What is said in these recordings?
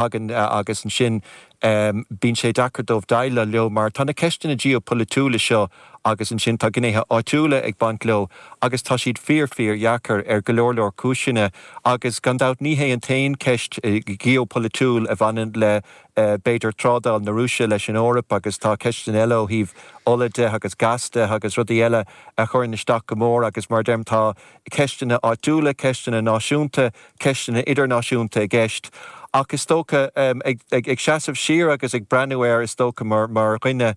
Thagann agus ansin bíonn sé deacair dóibh déileáil leo mar tá na ceisteanna geopolaitiúla seo agus ansin tá gnéithe áitiúla ag baint leo agus tá siad fíor fíor dheacair ar go leor leor cúiseanna agus gan dabht ní hé an t-aon cheist gheopolaitiúil a bhaineann le b'fhéidir trádáil na Rúise leis an Eoraip agus tá ceisteanna eile ó thaobh ola de agus gas de agus rudaí eile a chuireann isteach go mór agus mar a deirim tá ceisteanna áitiúla, ceisteanna náisiúnta, ceisteanna idirnáisiúnta i gceist. Ach is dócha, ag seasamh siar agus ag breathnú air, is dócha mar dhuine,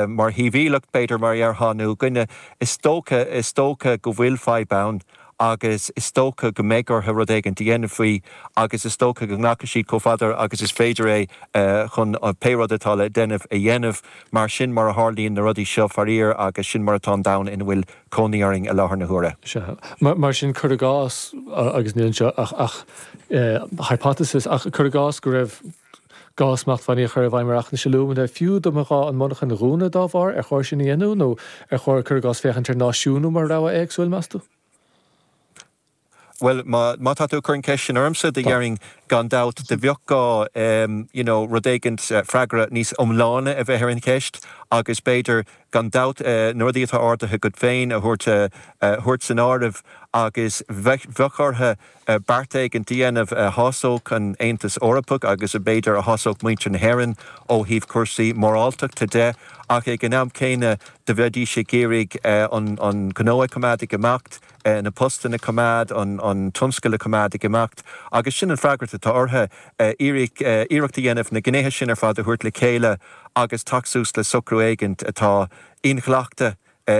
mar shibhialtach b'fhéidir, mar a dhéarfá, nó dhuine, is dócha, is dócha go bhfuil fadhb ann agus is dócha go mbeidh orthu rud éigin a dhéanamh faoi agus is dócha go nglacfaidh siad chomh fada agus is féidir é chun pé rud atá le déanamh a dhéanamh mar sin mar a tharlaíonn na rudaí seo faraor agus sin mar atá an domhan ina bhfuil cónaí orainn i láthair na huaire. Sea. Mar sin, cuir i gcás, agus níl anseo ach hypothesis, ach cuir i gcás go raibh gá smachtbhannaí a chur i bhfeidhm ar fhachtna alúmanaim, fiú dá mba ghá an mhonarchan a dhúnadh dá bharr, ar chóir sin a dhéanamh nó ar chóir, cuir i gcás, féachaint ar náisiúnú mar rogha éagsúil, meas tú? Bhuel, má tá tú ag cur an cheist sin ormsa, do dhéarfainn gan dabht, do bheadh gá, you know, rud éigint, freagra níos iomláine a bheith ar an cheist agus b'fhéidir, gan dabht, na rudaí atá ardaithe agat féin a thabhairt, a thabhairt san áireamh agus bheadh orthu beart éigint a dhéanamh a shásódh an Aontas Eorpach agus a b'fhéidir a shásódh muintir na hÉireann ó thaobh cúrsaí moráltachta de ach ag an am céanna do bheidís ag iarraidh an gnó a choimeád ag imeacht. na postanna a choimeád, an tionscal a choimeád ag imeacht agus sin an freagracht atá orthu, iarracht a dhéanamh na gnéithe sin ar fad a thabhairt le chéile agus teacht suas le socrú éigint atá inghlactha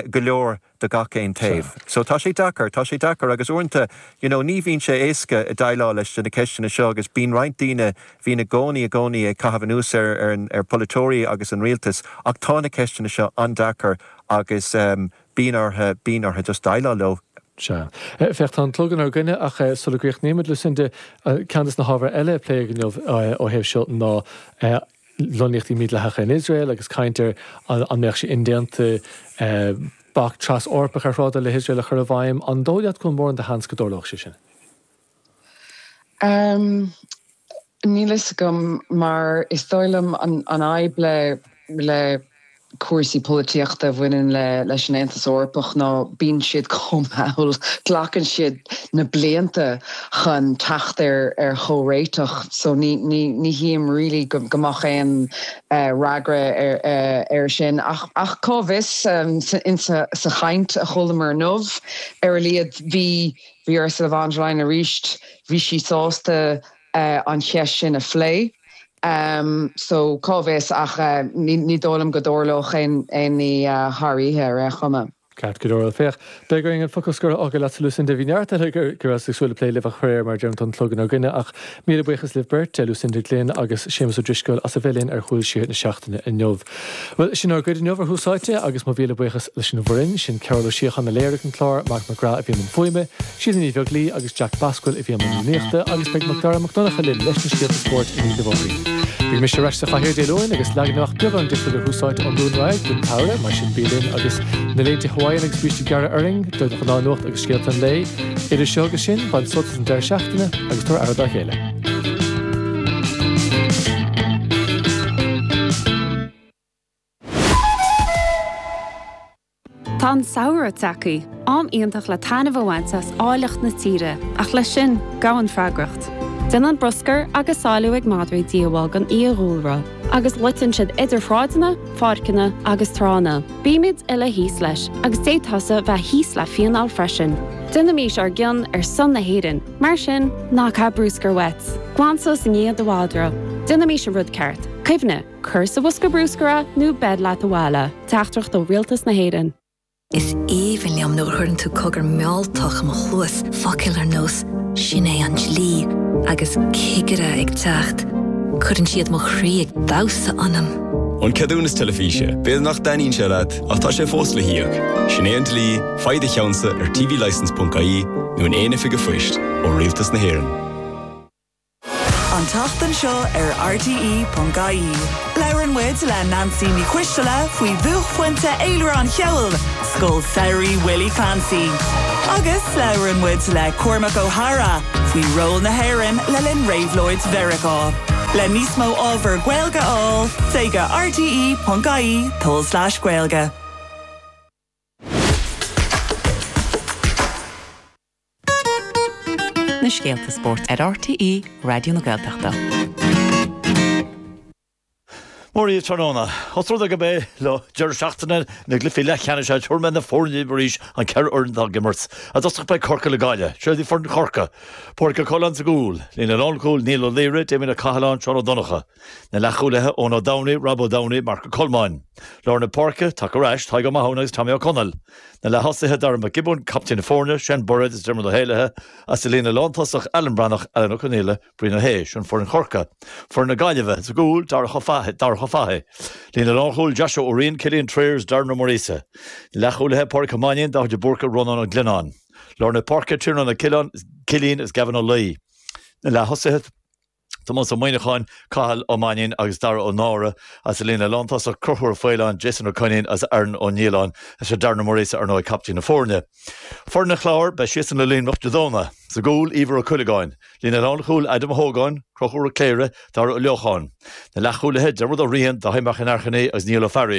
go leor do gach aon taobh. So tá sé deacair, tá sé deacair agus uaireanta you know ní bhíonn sé éasca déileáil leis na ceisteanna seo agus bíonn roinnt daoine bhíonn i gcónaí i gcónaí ag caitheamh anuas ar ar ar pholaiteoirí agus an rialtas ach tá na ceisteanna seo an-deacair agus Bíonn orthu, bíonn orthu just déileáil leo. Sea. Féach, tá an clog inár gcoinne ach sula gcríochnaímid, Lucinda, ceann de na hábhair eile a pléadh inniu ó thaobh seo ná lonnaíochtaí mídhleathacha in Iosrael agus caint ar an mbeadh sé indéanta bac tras-Eorpach ar thrádáil le hIosrael a chur i bhfeidhm. An dóigh leat go bhfuil mórán de sheans go dtarlódh sé sin? Níl fhios agam mar is dóigh liom an fhadhb le le cúrsaí polaitíochta a bhaineann le leis an Aontas Eorpach ná bíonn siad chomh mall, glacann siad na blianta chun teacht ar ar chomhréiteach so ní ní ní chím really go go mbeadh aon fhreagra ar ar sin ach ach cá bhfios in sa sa chaint a chualamar inniu ar a laghad bhí Bhí Ursula von der Leyen arís, bhí sí sásta an cheist sin a phlé. So, cá bhfios ach ní dóigh liom go dtarlódh aon ní thar oíche ar aon chuma. Ceart go leor. Féach, beidh orainn an focal scoir a fhágáil leatsa Lucinda. Bhí neart eile go rabhas ag súil le plé libh ach faraor, mar a deirim, tá an clog inár gcoinne. Ach míle buíochas libh beirt, Lucinda Glynn agus Séamus Ó Drisceoil as a bheith linn ar Chúl Siar na seachtaine inniu. Bhuel, sin ár gcuid inniu ar Thús Áite agus mo mhíle buíochas leis an bhfoireann, sin Cearbhall Ó Síocháin a léirigh an clár, Marc Mac Graith a bhí i mbun fuaime, Síle Ní Bheaglaoi agus Jack Basquel a bhí i mbun rúnaíochta agus beidh Macdara Mac Donncha linn leis na scéalta spóirt i ndiaidh na bhfógraí. Beidh mise ar ais sa chathaoir Dé Luain agus leagan amach beagán difriúil ar Thús Áite ón Luan ar aghaidh don tsamhradh, mar sin bí linn agus na léinte Hawaiian agus brístí gearra orainn don ghnáthnuacht agus scéalta an lae. Idir seo agus sin, bain sult as an deireadh seachtaine agus tabhair aire dá chéile. Tá an samhradh tagtha, am iontach le taitneamh a bhaint as áilleacht na tíre, ach leis sin, gabhann freagracht. Déanann bruscar agus sáiliú ag madraí díobháil don fhiadhúlra, agus loiteann siad idir shráideanna, pháirceanna agus tránna. Bímid uile thíos leis, agus d'fhéadfása bheith thíos le fíneáil freisin. Déanaimís ár gcion ar son na hÉireann, mar sin, ná caith bruscar uait. Glan suas i ndiaidh do mhadra. Déanaimís an rud ceart. Cuimhnigh, cuir sa bhosca bruscair é nó beir leat abhaile. Teachtaireacht ó Rialtas na hÉireann. Is aoibhinn liom nuair a chuireann tú cogar mealltach i mo chluas, focail ar nós 'sin é an dlí' agus 'cigire ag teacht'. Cuireann siad mo chroí ag damhsa ionam. An ceadúnas teilifíse, b'fhéidir nach dtaitníonn sé leat, ach tá sé fós le híoc. Sin é an dlí, faigh do cheannsa ar tvlicence.ie nó in aon oifig an phoist ó Rialtas na hÉireann. An tseachtain seo ar RTÉ.ie, labhrann muid le Neansaí Ní Choisteala faoi bhuaicphointe fhéilire an cheoil, Scoil Samhraidh Willie Clancy. Agus labhrann muid le Cormac Ó hEadhra faoi ról na hÉireann le linn réabhlóid Mheiriceá. Le níos mó ábhar Gaeilge a fháil, téigh go rte.ie tulslais Gaeilge. Na scéalta spóirt ar RTÉ Raidió na Gaeltachta. Mora daoibh tráthnóna. Os rud é gurb é lá deireadh seachtaine na gcluichí leathcheannais é tabharfaidh mé na foirne daoibh arís, an 4 fhoireann atá ag imirt. I dtosach beidh Corcaigh le Gaillimh. Seo iad foireann Chorcaí. Pádraig Ó Coileáin sa gcúl. Líne lánchúil, Niall Ó Laoire, Damien Ó Cathaláin, Seán Ó Donnchadha. Na leathchúlaithe, Eoin Ó Domhnaill, Rob Ó Domhnaill, Marc Ó Colmáin. Lár na páirce, tagtha ar ais, Tadhg Ó Mathúna agus Tommy Ó Conaill. Na leath-thosaithe, Darragh McGibbon, captaen na foirne, Shane Bairéad is Diarmuid Ó hÉallaithe, agus sa líne lántosach, Alan Breathnach, Alan Ó Conaola, Brian Ó hAodha, Sin foireann Chorcaí. Foireann na Gaillimhe, sa gcúl, Darach Ó Fathaigh, Darach Ó Fathaigh. Líne lánchúil, Joshua Ó Riain, Cillian Trayers, Darren Ó Muiríosa. Leathchúlaithe, Pádraic Ó Mainnín, Dáithí de Búrca, Rónán Ó Glionnáin. Lár na páirce, Tiarnán Ó Cileáin, Cillín agus Gavin Ó Laoi. Na leath-thosaithe, Tomás Ó Muíneacháin, Cathal Ó Mainnín agus Dara Ó Nára. Agus sa líne lántosach, Conchúr Ó Faoláin, Jason Ó Coinín agus Aaron Ó Nialláin. Is é Darren Ó Muiríosa, ar ndóigh, captaen na foirne. Foireann an Chláir, beidh siadsan le Luimneach Dé Domhnaigh. Sa gcúl, Íomhar Ó Cuileagáin. Líne lánchúil, Adam Ó hÓgáin, Conchúr Ó Cléirigh, Dara Ó Leocháin. Na leathchúlaithe, Diarmuid Ó Riain, Dáithí Mac an Airchinnigh agus Niall Ó Fearghaíl.